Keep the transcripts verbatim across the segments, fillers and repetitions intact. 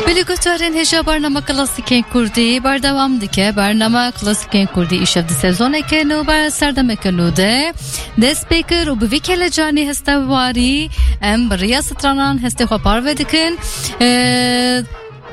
Belê guhdarên hêja, bernama Klasîkên Kurdî berdewam dike. Bernama Klasîkên Kurdî îşev di sezoneke nû, ber serdemeke nû de dest pê kir û bi vî kelecanî hestewarî em bi riya stranan hestê xwe parve dikin. Ee,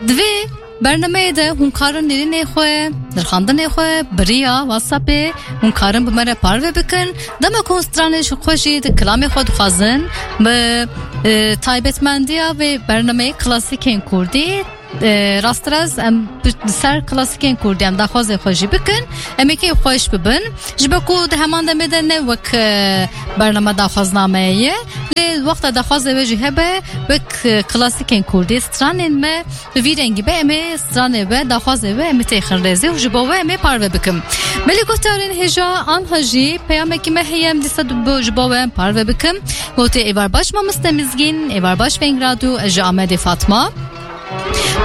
di vê bernameyê de hûn karin nêrînê xwe, nirxandinê xwe, bi riya WhatsAppê hûn karin bi me re parve bikin. Dema ku hûn stranê ji xwe jî di kilamê xwe dixwazin, bi, e, taybetmendiya vê bernameyê Klasîkên Kurdî, e, rasterast em bi, li ser Klasîkên Kurdî em daxwazê xwe jî bikin, em ê kê xweş bibin. Ji ber ku di heman demê de ne wek, e, bernama daxwazname ye, lê wexta daxwazê we jî hebe, wek, e, Klasîkên Kurdî stranên me bi vî rengî be, em ê stranê we, daxwazê we, em ê têxin rêzê û ji bo we em ê parve bikim. Belê guhdarên hêja, anha jî peyamekî me heye, em dîsa bo, ji bo we em parve bikim. Gotê êvar baş mamoste Mizgîn, êvar baş Veng Radyo, ez ji Amedê Fatma.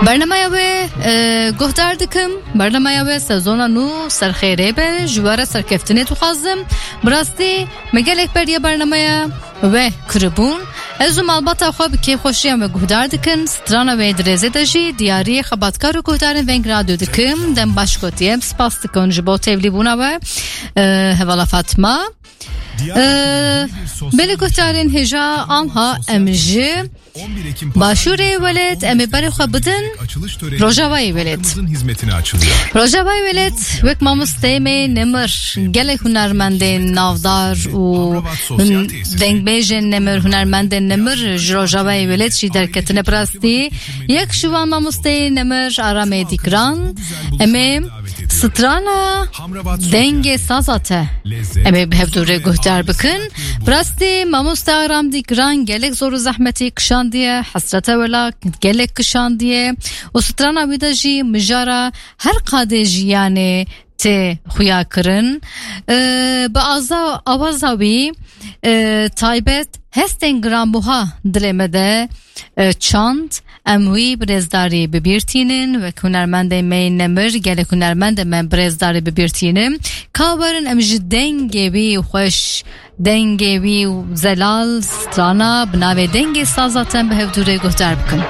Bernameya we, e, guhdar dikim. Bernameya we sezona nû ser xêrê be, ji we re serkeftinê dixwazim. Bi rastî me gelek beriya bernameya we kiribûn. Ez û malbata xwe bi kêfxweşiya me guhdar dikin. Strana we di rêzê de jî diyariyê xebatkar û guhdarên Veng Radyo dikim. Dem baş gotiye, em spas dikin ji bo tevlîbûna we. E, hevala Fatma. Ee, belê guhdarên hêja, anha em ji Başûrê welêt em ê berê xwe bidin Rojavayê welêt. Rojavayê welêt wek mamosteyê me Nemir, gelek hunermendên navdar û dengbêjên Nemir, hunermendên Nemir ji Rojavayê welêt jî derketine bi rastî. Yek ji wan mamosteyê Nemir Aramê Dîgran. Em ê strana Dengê Saza te em ê bi hevdû re guhdar bikin. Bi rastî mamoste Aram Dîgran gelek zor û zehmetî kişandiye, hesrete wela gelek kişandiye û strana wî de jî mijara her qadê jiyanê tê xuya kirin. Ee, bi aza-, awaza wî, e, taybet hestên giranbuha dilê me de, e, çand, em wî bi rêzdarî bi bîr tînin, wek hunermendê me yê Nemir, gelek hunermendê me bi rêzdarî bi bîr tînin. Ka werin em ji dengê wî xweş, dengê wî zelal, strana bi navê Dengê Saza te em bi hevdû re guhdar bikin.